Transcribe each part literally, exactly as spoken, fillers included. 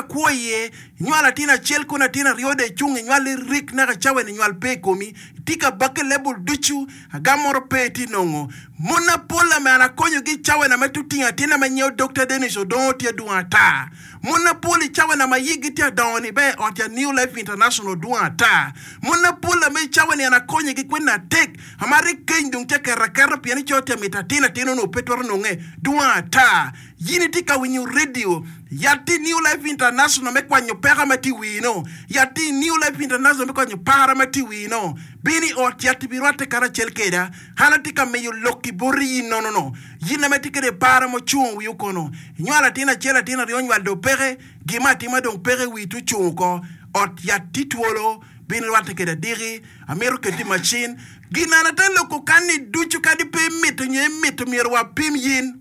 kwo iye, inywalo atin acel kono atin aryo dong icung inywal rik naka cawa ni nywal pe i komi, itye ka bakke lebul ducu, agam moro pe itye nongo. Mon mapol ame an akonyogi i cawa na me tutingo atin ame nyeo Dokta Dennis Odongo tye dwong ata. Mon mapol i cawa na ma yigi tye adongo ni be ot ya New Life International dwong ata. Mon mapol ame i cawa ni an akonyogi kwede natek ama rik keny dong tye keto aketa pien ico tye mito atin atin onongo pe twero nonge dwong ata. Yin itye ka winyo radio yat tye New Life International me kwanyo peko ma tye i wii no. Yat tye New Life International me kwanyo para ma tye i wii no. Bin i ot yat ibirwatte karacel keda. An atye ka miyo lok i boti yin nono no. Yin ame tye kede para mucungo wii okono. Inywalo atin acel atin aryo nywal dong peke. Gima atima dong peke wii tye ocungo oko. Ot yat tye twolo. Bin irwatte kede adiki. Amito keti i macin. Gin an ate loko kan-ni ducu kadi pe imito nyo imito myero wapim yin.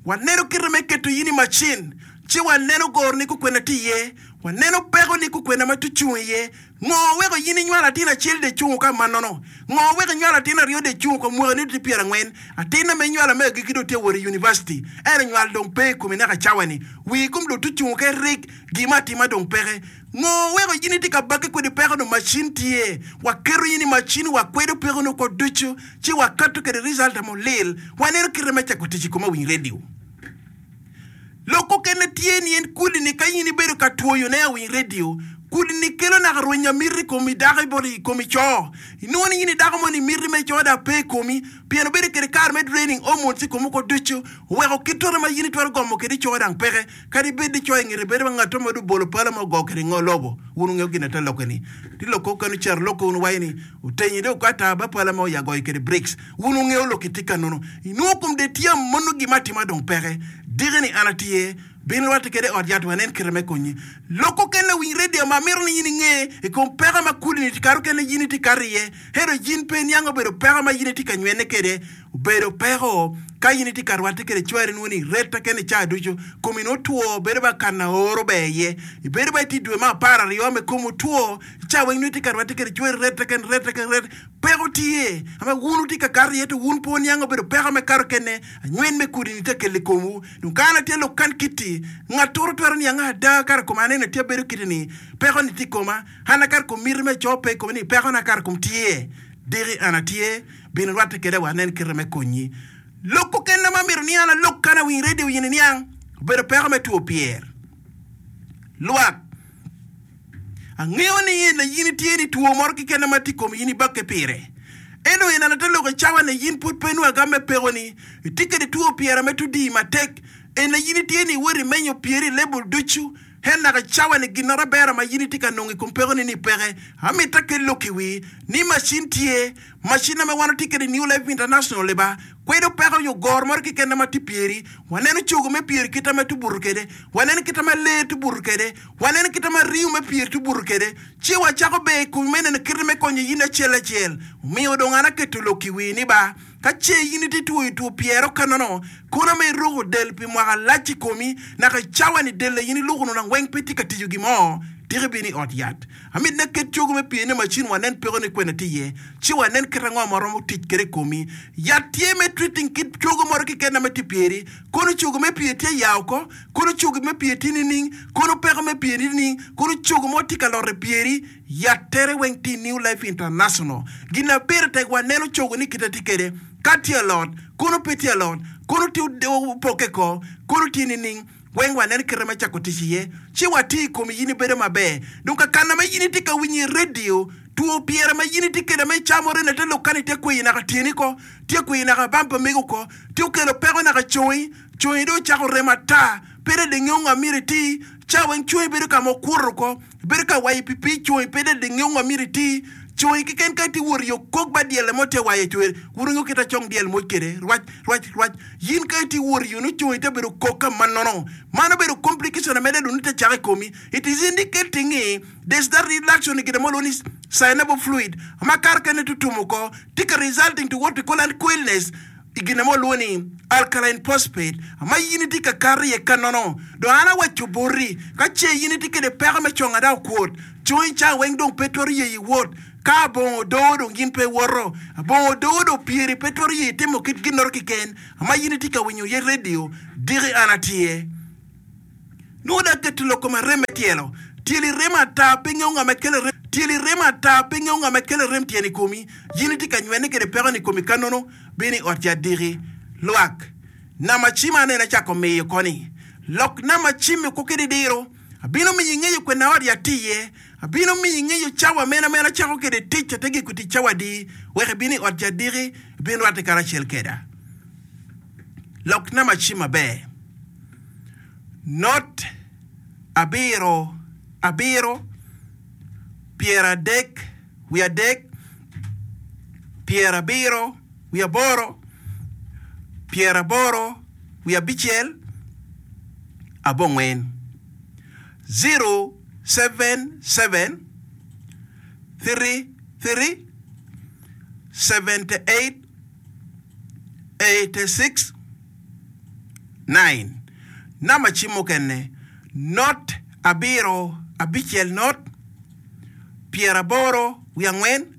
Waneno kite me keto yin i macin, ci waneno goroni kukwena tye iye, waneno pekoni kukwena ma tye ocung iye. Ngo weko yin inywalo atin acel dong icungo ka manono? Ngo weko inywalo atin aryo dong icungo ka mwakani dong tye pyerangwen? Atinna ma inywalo me agikki dong tye wot i univaciti, ento nywal dong pe i komi naka cawa-ni. Wii kom dong tye ocungo ka irik, gin me atima dong peke. Ngo weko yin itye ka bakke kwede peko dong macin tye? Waketo yin i macin, wakwedo pekoni oko ducu, ci wakato kwede result ma olil. Waneno kite me cako tic i kom awiny radio. Lok okene tye ni en kudi ni ka in ibedo ka twoyo ne awiny radio, kudi ni kelo naka rwenyo amiti i komi dako i komi co. Inongo ni in i dako moni miti me co dok pe i komi pien obedo kede kare me draining hormones i komi oko ducu oweko kit toto ma in itwero gomo kede co dang peke. Kadi bed ni co i ngete bedo ma ngatto mo dong obolo pala ma ogo kede ngo lobo. Wun wungeyo gin ate lokke ni. Ti lok okene ocito lokke wun wuwaco ni otenyi dong okata ba pala ma oya goyo kede bricks. Wun wungeyo lok itye ka nono. Inongo kom dong itye amono gin ma atima dong peke. Diki ni an atye, bin rwatte kede i ot yat wanen kite me konyi. Lok okene winy radio ma amito ni in inge i kom peko ma kudi ni kare okene in itye kato iye. Ento in pe iniang obedo peko ma in itye ka nywene kede. Obedo peko ka in itye ka rwatte kede cwari nwo ni retta kene ca ducu komi nwo two bedo ba kana oro ber iye. Ibedo ba itye dwe me apar aryo me komi otwo ca weng nwo itye ka rwatte kede cwari retta kene retta kene retta. Peko tye ma wun wutye ka kato iye to wun pe wuniang obedo peko me kato kene anywen me kudi ni tye kelo i komwu. Dong ka an atye lok kan kiti, ngat toro twero niang ada kare koma aneno tye abedo kiti ni peko ni tye i koma, an akar kom miti me co pe i kome ni peko na kare kom tye. Diki an atye, bin irwatte keda wa anen kite me konyi. Lok okene ma amito ni an alok kan awiny radio yin iniang obedo peko me two pyer lwak. Angeyo ni in in itye ni two moro keken ma tye i komi in ibakke pire. Ento in ate lok i cawa ni in pud pe inwongo agam me pekoni. Itye kede two pyera me tudi matek. En in itye ni iwoto imenyo pyeri i lebul ducu. En naka i cawa ni ginnoro abera ma in itye ka nongo i kom pekoni ni peke. Amito akel lok i wi ni macin tye. Macin ame wan watye kede New Life International liba kwedo peko nyo goro moro keken ma tye pyeri. Waneno cogo me pyeri kite ma tubuto kede. Waneno kite ma lee tubuto kede. Waneno kite ma ringo me pyeri tubuto kede. Ci wacako ber i komi me neno kite me konyo in acel acel. Omiyo dong an aketo lok i wi ni ba, ka ce in itye twoyo two pyero kanono, kono ma iruko del pi mwaka lac i komi, naka i cawa ni del a in iluko nonang weng pe tye ka tiyo gin mo, tika ibino i ot yat. Amit ne ket cogo me pyeri ne macin wanen peko ni kwene tye iye, ci wanen kit ango ma waromo tic kwede i komi. Yat tye me treating kit cogo moro keken ma tye pyeri. Kono cogo me pyeri tye ya oko, kono cogo me pyeri tye nining, kono peko me pyeri nining, kono cogo mo tye ka lot i pyeri, yat tere weng tye i New Life International. Gin na pire tek waneno cogo ni kite tye kwede, ka tye alot, kono pe tye alot, kono tye opokke ko, kono tye nining. Weng waneno kite me cako tic iye, ci wati i kom in ibedo maber. Dong kakana ma in itye ka winyo i redio, two pyere ma in itye kwede ma icamo rene te lok kani tye kweyi naka tyeni ko, tye kweyi naka bam pa mego ko, tye okelo peko naka congi, congi dong ocako remo ata, pe dong ingeyo ngo myero iti, ca weng congi bedo ka ma okuto ko, bedo ka wayo pi pii congi pe dong ingeyo ngo myero iti, congi keken ka itye wot i okok ba dyelle mo tye wayo cwer, wun wungeyo kit acong dyel moc kwede, rwac rwac rwac, yin ka itye wot i yo nongo congi te bedo kok ka ma nono, man obedo complication ameda dong nongo te cako i komi, it is indicating ni there's that reduction i gin mo lwongo ni synovial fluid ma kare kene tutumo oko tye ka resulting to what we call uncoilness i gin mo lwongo ni alkaline phosphate ma in itye ka kato iye ka nono. Dong an awaco boti, ka ce in itye kwede peko me conga dok okwot, congi ca weng dong pe twero yeyi wot. Ka abongo odoo dong in pe iwoto, abongo odoo dong pyeri pe twero yeyi timo kit ginnoro keken ma in itye ka winyo iye redio, diki an atye. Nongo dong aketo lok kom arem me tyelo. Tyeli rem ata, pe ingeyo nga ma kelo rem. Tyeli rem ata, pe ingeyo nga ma kelo rem tyeno i komi. Yin itye ka nywene kwede peko-ni i komi ka nono, bino i ot yat diki. Lwak nama cim aneno acako miyo koni. Lok nama cim-mi oko kede diro. Abino miyo ingeyo kwena ot yat tye iye. Abino miyo ingeyo cawa mene ma en acako kwede tic ate giko tic cawa adi, wek ibin i ot yat diki, ibin rwatte karacel keda. Lok nama cim maber. Not abiro abiro, pyeradek wiye adek, pyerabiro wiye aboro, pyeraboro wiye abicel, abongwen. Zero seven seven three three seventy eight eighty six nine. Namba cim mukene, not abiro abicel not pyeraboro wiye angwen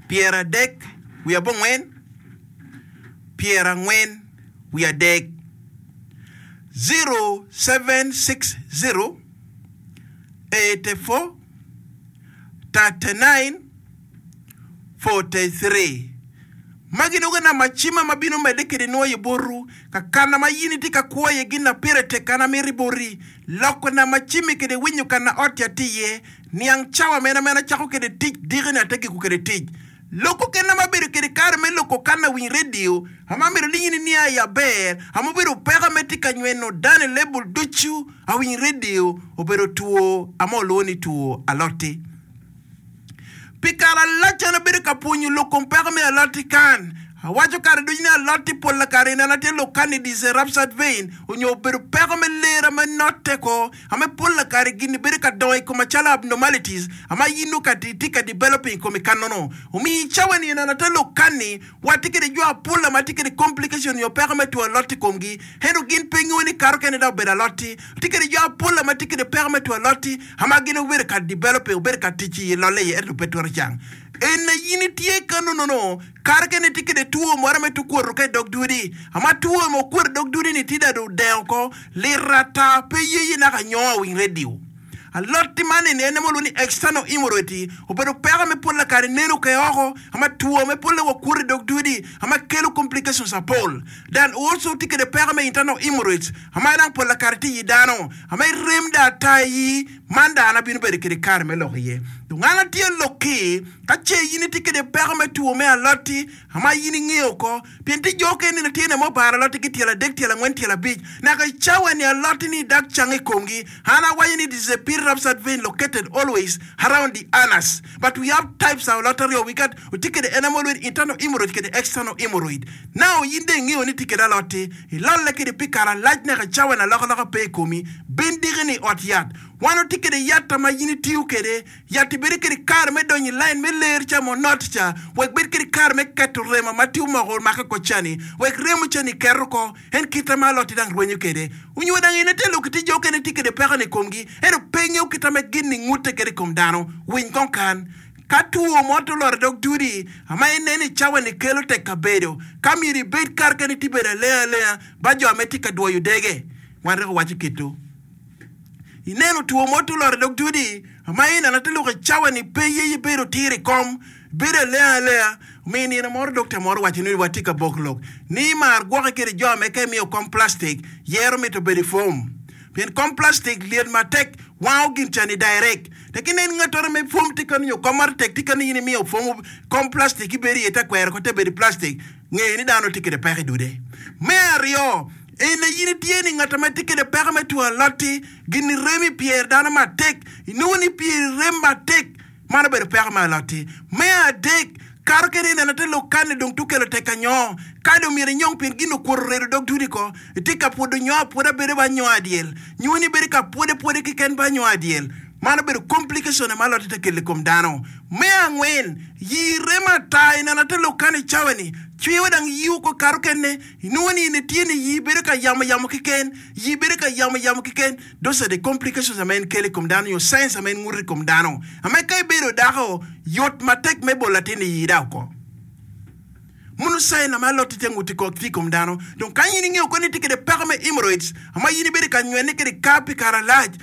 pyeradek wiye abongwen pyerangwen wiye adek, zero seven six zero eighty four thirty nine forty three. Magi dong namba cima ma bino medde kwede nwoyo botwu. Ka kana ma in itye ka kwo iye gin na pire tek kana amito boti. Loko namba cimmi kwede winyo kana ot-ti atye iye. Niang cawa mene ma en acako kwede tic diki-ni ate giko kwede tic. Lok okene ma abedo kwede kare me loko kana winy redio ama amito ni in inia i aber ama obedo peko ame tye ka nyweno dano i lebul ducu awiny redio obedo two ama olwongo ni two alot-ti. Pi kare alac an abedo ka pwonyo lok kom peko me alot-ti kan. Awaco kare ducu ni alot-ti pol kare ineno atye lok kan ni is a ruptured vein onyo obedo peko me lera me notte ko ame pol kare gin-ni bedo ka dongo i koma calo abnormalities ama in nongo ka itye ka developing i komi kannono. Omiyo i cawa ni ineno ate lok kan-ni watye kede jo apol ama tye kede complication onyo peko me two alot i komgi ento gin pe ngeyo ni kato kene dok obedo alot-ti. Tye kede jo apol ama tye kede peko me two alot-ti ama gin obedo ka developing obedo ka tic i lolle iye ento pe twero cang. En aye in itye ka nono kare kene itye kede two moro me tukwoto ka i dog dudi. Ama two ma okwoto i dog dudi-ni tye dong odengo oko lit ata pe yeye naka nyongo awiny redio. Alot-ti man eni en aye ma walwongo ni external hemorrhoid obedo peko me pol kare neno ke oko ama two me polle wakwoto i dog dudi ama kelo complications apol. Dan also tye kede peko me internal hemorrhoids ama dang pol kare tye i dano ama irem dong ata iyi man dong an abino bedo kede kare me lok iye. Dong an atye lok-ki ka ce in itye kede peko me two me alot-ti ama in ingeyo oko pien tye jo okene nino tye ma obaro alot-ti ki tyelo adek tyelo angwen tyelo abic naka i cawa ni alot-ti ni dak cang i komgi. An awaco ni this is a period ruptured vein located always around the anus but we have types of alot aryo we got otye kede en ame walwongo ni internal hemorrhoid kede external hemorrhoid. Now in dong ingeyo ni tye kede alot-ti ilolle kede pi kare alac naka i cawa ni alokaloka pe i komi bin diki ni i ot yat. Wan otye kede yat ma in itiyo kede yat-ti bedo kede kare me donyo i lain me ler ca ma onot ca wek bed kede kare me keto remo ma tye omoko omake oko cani wek remo cani ket oko en kite ma alot-ti dang rwenyo kede onyo dang in ite lok tye jo okene tye kede peko ni i komgi ento pe ngeyo kite me gin ni ngute kede i kom dano winy kong kan ka two mo te olot i dog dudi ama ineno i cawa ni kelo tek kabedo ka myero ibed kare kene tye bedo alenga alenga ba jo ame tye ka dwoyo dege wan reko waco kito ineno two mo te olot i dog dudi ama ineno ate lok i cawa ni pe ye ibedo tir i kom bedo alenga alenga omiyo nino moro dokta moro owaco ni watye ka bok lok ni mar gwoke kede jo ame ka imiyo kom plastic yero mito bedo i fom pien kom plastic lyet matek wango gin cani direct tek inen ngatoro me fom tye kano nyo kom maro tek tye kano in imiyo fom kom plastic ibedo iye te kwero ko te bedo i plastic ngeyo ni dano tye kede peko i dude. Me aryo en aye in itye ni ngat ma tye kede peko me two alot-ti gin rem i pyer dano matek inongo ni pyer rem matek man obedo peko me alot-ti. Me adek kato kede ineno te lok kan-ni dong tukelo tek anyo ka dong myero inyong pien gin okwoto redo dog dudi ko itye ka pwodo nyo apwoda bedo ba nyo adyel nyo ni bedo ka pwode pwode keken ba nyo adyel man obedo complication ma alot-ti te kelo i kom dano. Me angwen yi rem ata ineno te lok kan i cawa ni cwiwa dang yi oko kato kene inongo ni in itye ni yi bedo ka yamo yamo keken yi bedo ka yamo yamo keken those are the complications ama en kelo i kom dano nyo signs ama en nguto i kom dano ama ka ibedo dako yot matek me bolo latin i yi da oko. Munu sign ama alot tye nguti ko tye i kom dano. Dong ka in ingeo ko ni itye kede peko me hemorrhoids, ama in ibedo ka nywene kede kar pi kare alac,